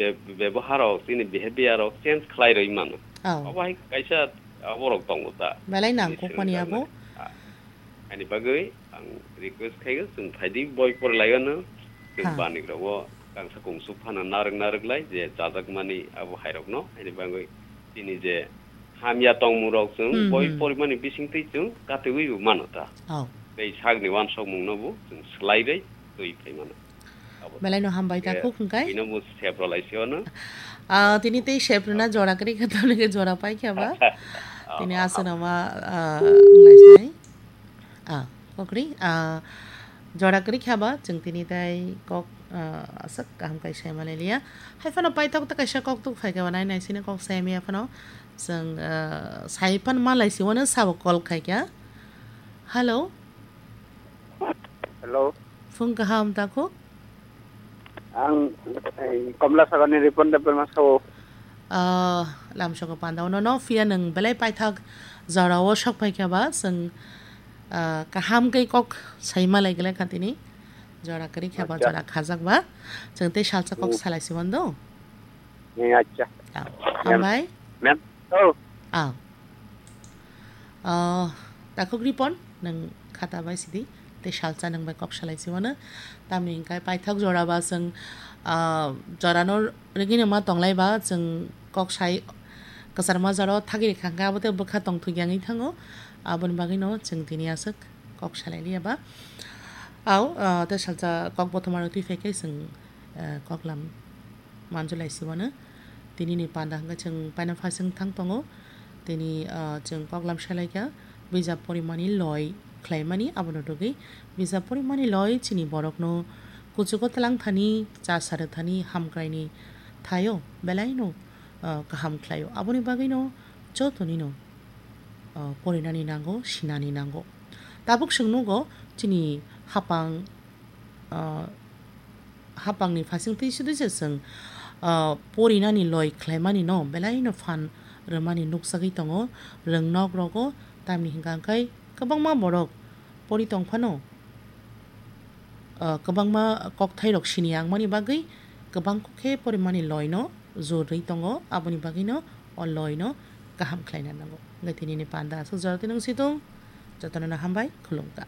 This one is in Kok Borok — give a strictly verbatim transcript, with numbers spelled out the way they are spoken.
be-, bebohar rok, chini behavior rok change khlai rwi mano. Oh. Obo hai kaisa aborok tongo ta. Belai nangkukmani abo. Ani bagwi ang request khaio, chwng phaidi boi porilaio no, chwng Ha. Banik rogo kangsa kungsuk phano narwk narwk lai je chajakmani abo hairokno, ani bagwi chini je hamya tongmung rok chwng Hmm, boi hmm. Porimani bisingtwi chwng katiwi bo mano ta. Oh. Tei sakni wansokmung no bo chwng swlai bai twi phai mano. Abo Belai no hambai ta khe khuk hwnkhe. Bino bo sep rwlai se ono. Ah, tini tei sep rwna jora kwrwi kha, tamni khe jora pai kha ba. Tini aswk no ma, ah, wnglaisai. Ah, kokri, ah, jora kwrwi kha ba, chwng tini tai kok, ah, aswk kaham kai sai manai liya. Hai phano paithak ta kaisa kok tuk phai kha ba, nai nai sini kok sai maya phano. Chwng, ah, sai phan malai si wano sabo call khai kha. Hello. Hello. Phung kaham ta kho? Ang, eh, Komla Sagarni Ripon Debbarma sao. Ah, lamsogo panda. Ono no phiya nwng belai paithak jora o sok phai kha ba, chwng, ah, kaham khe kok sai malai glak kha tini. Jora kwrwi kha ba, Acha. Jora khajak ba. Chwng tei salsa kok Hmm. Salai si mando. Eh, acha. Ah, Ma'am. Hambai. Ma'am. Oh. Ah. Ah, takhuk Ripon, nwng khata bai sidi, tei salsa nwng bai kok salai si mano. Tamni hwnkhe paithak jora ba chwng, ah, jorano rigini ma tonglai ba chwng kok sai kwchar ma jora o thagiri khangkhe abo tei bwkha tongthok yangwi thango. Aboni bagwino chwng tini aswk kok salai liya ba. Au, ah, tei salsa kok bothoma rok twi phai khe chwng, ah, koklam manjulai si mano. Tini ni panda hwnkhe chwng paina phasing thang tongo. Tini, ah, chwng koklam salaikha bijap porimani loi khlaimani, abono rwgwi bijap porimani loi chini borokno kuchugo twlang thani, cha sarwi thani, hamkraini thaio belaino, ah, kaham khlaio. Aboni bagwino jotonino, ah, porinani nango, sinani nango. Tabuk chwng nugo chini hapang, ah, hapangni phasing twi sudui se chwng, ah, porinani loi khlaimani no belaino phan rwmani nukjagwi tongo. Rwngnok rogo tamni hwnkha hwnkhe kwbangma borok pori tong phano, ah, kwbangma kokthai rok sini yangmani bagwi kwbang khe porimani loi no jor rwi tongo, aboni bagwi no o loi no kaham khlaina nango. Hwnkhe tini ni panda aswk jora twi nung si tung, jotono no hambai khulumkha.